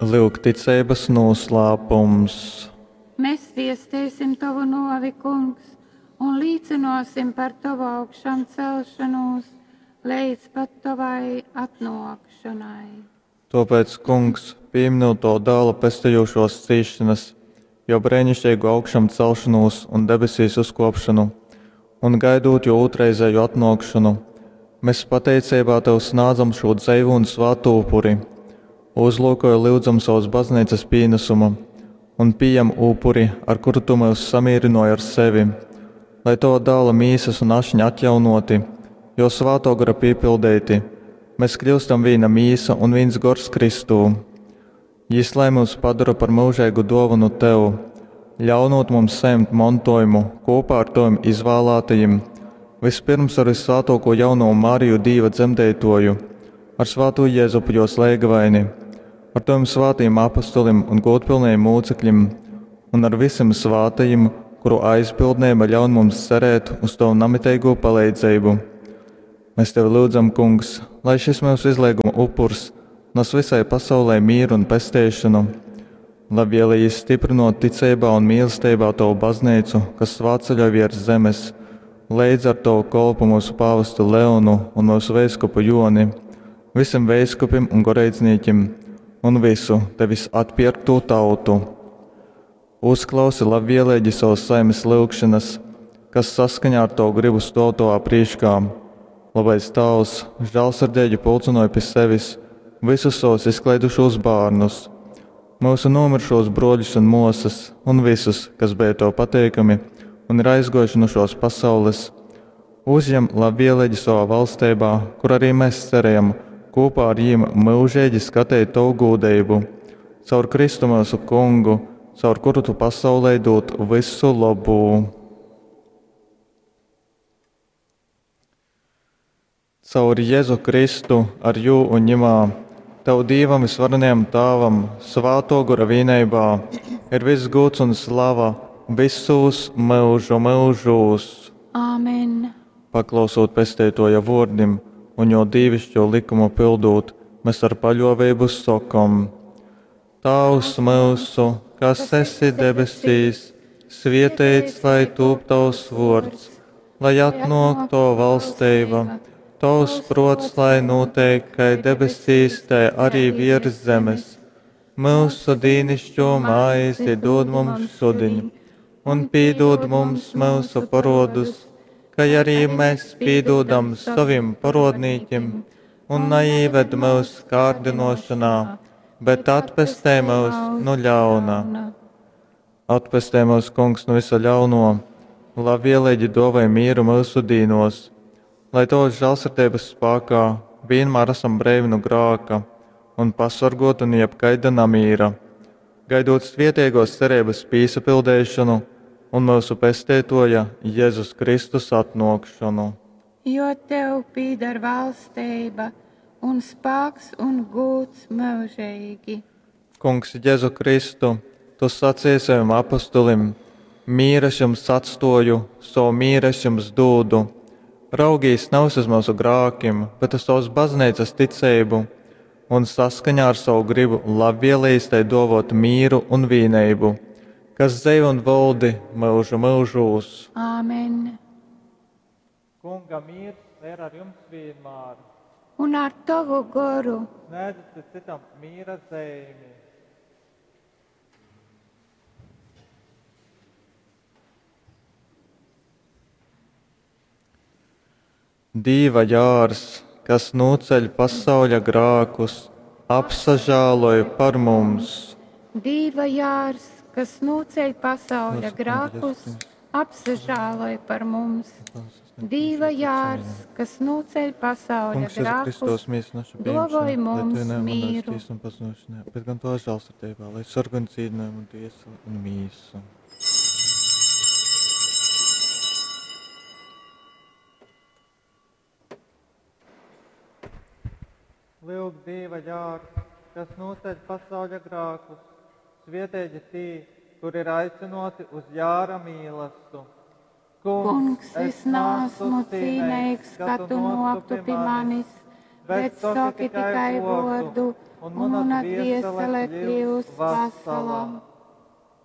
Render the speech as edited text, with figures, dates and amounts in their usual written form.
Lyuk ticeibas nūslāpums. Mēs viesteisim tovu novi, kungs, un līcinosim par tovu augšām celšanos līdz pat tovai atnākšanai. Tāpēc, kungs, pieminot to dēla pestejošos cīšanas, jo brēnišķīgu augšām celšanos un debesīs uzkopšanu, un gaidot jo otrreizēju atnākšanu, mēs pateicībā tev snādzam šo dzeivu un svātu upuri. Uzlūkoju lūdzam savas baznīcas pienesumu un pieņem upuri, ar kuru tu mūs samierināji ar sevi, lai tava dēla mīsas un ašņa atjaunoti, jo svāto gara piepildīti, mēs kļūstam viena mīsa un viens gors Kristū. Jis lai mūs padara par mūžīgu dāvanu tev, ļaunot mums saņemt mantojumu kopā ar taviem izvēlētajiem, vispirms ar visvētāko jauno Mariju Dīva dzemdētoju, ar svāto Jēzupu jos lēgavaini, ar taviem svātajiem apustulim un godpilnajiem mūcekļiem, un ar visiem svātajiem, kuru aizpildnība ļaun mums cerēt uz tavu namitīgo palīdzību. Mēs tevi lūdzam, kungs, lai šis mūsu izlieguma upurs nes visai pasaulē mieru un pesteišanu, labvēlīgi stiprinot ticībā un mīlestībā tavu baznīcu, kas svātceļo virs zemes, līdz ar tavu kolpu mūsu pāvestu Leonu un mūsu veiskupu Joni, visiem veiskupim un goreidznīkim un visu tevis atpirkto tautu. Uzklausi labvēlīgi savas saimes lūgšanas, kas saskaņā ar tavu gribu stāv tavā priekšā. Labais Tēvs, žēlsirdīgi pulcinoja pie sevis visus savus izklaidušos bērnus, mūsu nomirušos broļus un māsas, un visus, kas bija tev pateikami un ir aizgojuši no šos pasaules. Uzņem labvēlīgi savā valstībā, kur arī mēs cerējam, kopā ar viņiem mūžīgi skatīt tavu gūdību. Caur Kristu mūsu kungu, caur kuru tu pasaulē dod visu labu. Caur Jēzu Kristu, ar jū un ņemā, Tev Dievam visvarenajam Tāvam, svāto gora vienībā, ir viss gods un slava visos mūžu mūžos. Āmen! Paklausot pesteitoja vārdim un jo dīvišķo likumu pildot, mēs ar paļāvību sakam: Tēvs mūsu, kas esi debesīs, svētīts lai tūp tavs vārds, lai atnāk to valstība, tavs prots, lai notiek, kai debesīs, tai arī virs zemes. Mūsu dīnišķo maizi dod mums šodien, un pīdod mums mūsu parodus, kai arī mēs pīdodam saviem parodnīkiem, un neieved mūsu kārdinošanā, bet atpestē mūs no ļauna. Atpestē mūs, kungs, no visa ļauno, labvēlīgi dovai mieru mūsu dīnos, lai tavas žēlsirdības spēkā vienmēr esam brīvi no grāka un pasargoti no jebkaida namīra, gaidot svietiegos cerības pīsapildēšanu un mūsu pestētoja Jēzus Kristus atnākšanu. Jo tev pīdar valstība un spēks un gūts mūžīgi. Kungs, Jēzu Kristu, tu sacīji saviem apustulim: Mīras jums atstoju, savu mīras jums dūdu. Raugīs nav uz mūsu grākiem, bet uz savas baznīcas ticību, un saskaņā ar savu gribu labvēlīs tai dovot mīru un vīnību, kas dzēv un valdi mūžu mūžūs. Āmen! Kunga miers ir ar jums vienmēr. Un ar tavu goru. Sniedzat citam mīra zīmi. Dīva jārs, kas noceļ pasauļa grākus, apsažāloj par mums. Dīva jārs, kas noceļ pasauļa grākus, apsažāloj par mums. Dīva jārs, kas noceļ pasauļa Kungs, Jēzu grākus, Kristus, mīsu našu dovoj pieņemšanu, lai mums tu nemanās mīru. tiesu un pazušanā, bet gan to žēlsirdībā, lai sargā un dzīvinājumu un tiesu un mīsu. Lūk, Dieva jārs, kas noceļ pasauļa grākus, svietēģi tī, kur ir aicināti uz jāra mīlestu. Kungs, es nāsmu cīnīgs, ka tu noktu pie manis, bet saki tikai vārdu, Un un mana mana dvēsele dvēsele kļūs kļūs vesela. vesela.